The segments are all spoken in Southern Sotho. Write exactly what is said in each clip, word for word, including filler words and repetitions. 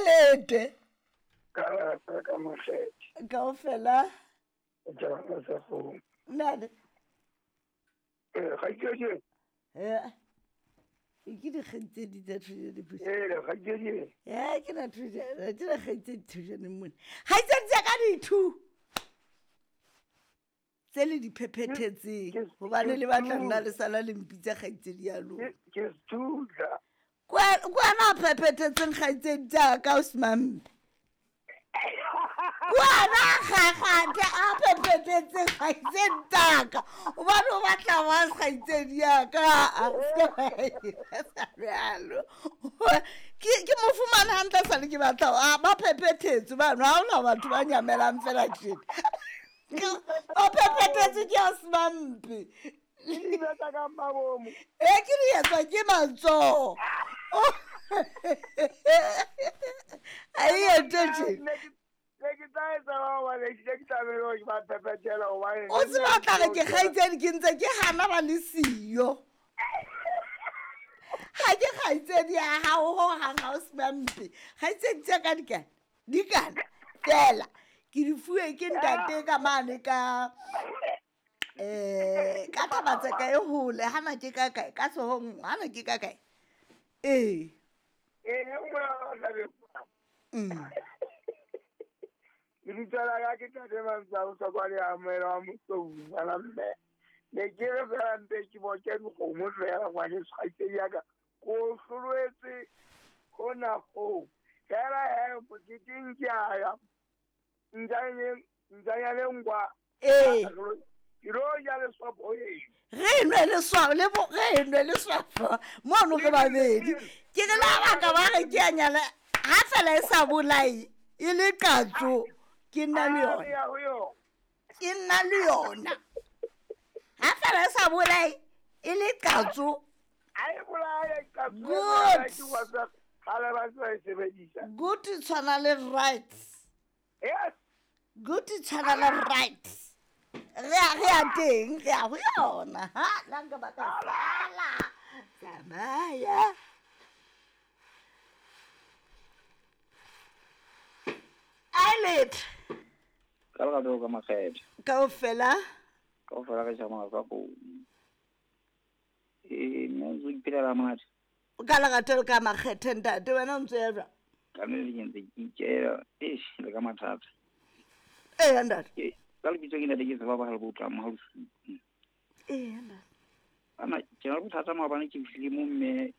Ailete. Ka rata ka makgethe. Kaofela. Jana sa go. Nna. Eh, ga ke je. Eh. Ke dikgaitsedi tsa thuso dipuso. Eh, ga ke je. Eh, ke na thuso, ke dikgaitsedi thuso ne mone. Kgaitsedi tsa ka dithu. Tse le di phephethetseng hobane le batla nna le sala le mpitsa kgaitsedi ya lona. Ke sethusa. Kwana phephethetseng kgaitsedi tsa ka o semampe. Kwana kgakgathe a phephethetseng kgaitsedi tsa ka. Hobane o batla wa kgaitsedi ya ka. A bjalo. Ke ke mo fumane hantle sa le ke batla ba phephethetse bano ha hona batho ba nyamelang fela tjena. O phephethetse ke a semampe. Ke di betsa ka mabomo. E ke di etswa ke matsoho. A e etse tje. Ne ke tla etsa hobane ke ke tlamehile hore ke ba phephethela hobane. O tseba tla re ke kgaitsedi ke ntse ke hana ba le siyo. Ha ke kgaitsedi ya hao ho hang ha o semampe. Kgaitsedi tsa ka dikana. Dikana fela. Ke di fuwe ke ntate ka mane ka eh ka Thabatseka e hole hana ke ka kae ka sohong hana ke ka kae. Eh. Eh o tla be. Mm. Lebitso la ka ke Ntate Mamsa o sa kwale amohela wa Mosou ngwana mme. Ne ke re fela mpe ke boke dikgomo fela ngwaneso kgaitsedi ya ka. Ko hloloetse hona hoo. Fela he moketeng ke a ya. Ntjanyane ntjanyane kwa. Eh. Ke lo ja leswapo e. Re nwe leswapo le bo re nwe leswapo. Mono re babedi. Ke re la baka ba re ke a nyala ha fela e sa bolae e le qatso. Ke nna le yona. Ke nna le yona. Ha fela e sa bolae e le qatso. Ha e bolae qatso. Good. Kgale ba tla e sebedisa. Good tshwana le rights. Yes. Good tshwana le rights. Re a re a teng, re a ho yona. Ha la nka ba ka sala. Tsamaya. Ailete. Ka lerato ka makgethe. Kaofela. Kaofela re tsamaya ka go. Eh, nna ntse ke phelela monate. Ka lerato ka makgethe ntate wena o ntse ya jwang? Ka nne ke ntse ke ikela, eish le ka mathata. Eh ntate. Ka lebitso ke ntate ke tseba ba ha le botla mo ha bosiu. Eh ntate. Ana ke na le bothata maobane ke fihlile mo mme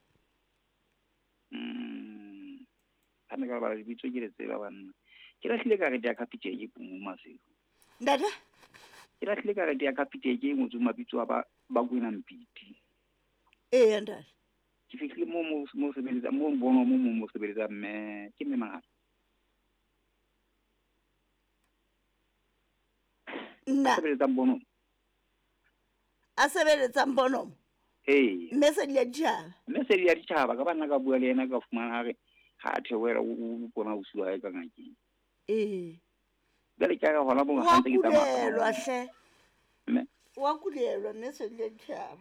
mm ha ne ka bala lebitso ke le tseba banna. Ke lahlile karete ya Capitec ke mo Maseko. Ntate? Ke lahlile karete ya Capitec e ngotsweng mabitso a ba ba Kwena Mpiti. Eh ntate. Ke fihlile mo mo mo sebeletsa mo mbono mo mo mo sebeletsa mme ke mme mangata. Nna. Sebeletsang bono. A sebeletsang bono. Eh. Mme se di ya ditjhaba. Mme se di ya ditjhaba ka bana ka bua le yena ka fumana hare ha theohela o bona o siwa ka ngakeng. Eh. Jwale ke a hona bo ngakeng ke tsamaya. Wa hle. Mme. Wa kulelwa mme se di ya ditjhaba.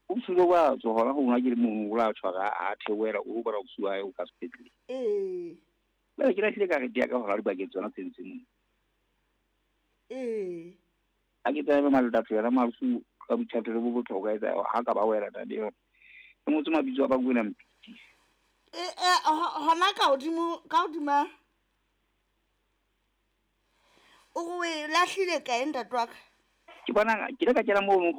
O sule wa tswa hona ho ngakeng mo o la tshwara ha theohela o bona o siwa o ka sepetlele. Eh. Jwale ke lahlile karete ya ka hora dibakeng tsona tse ntse mo. Eh. A ke tsebe malata yona malusu ka boithatelo bo botlhokwa etsa ha ka ba wela tate yona. E ngotse mabitso a ba Kwena Mpiti. Eh eh hona ka hodimo ka hodima. O re lahlile kae ntate wa ka? Ke bona ke le ka kena mo home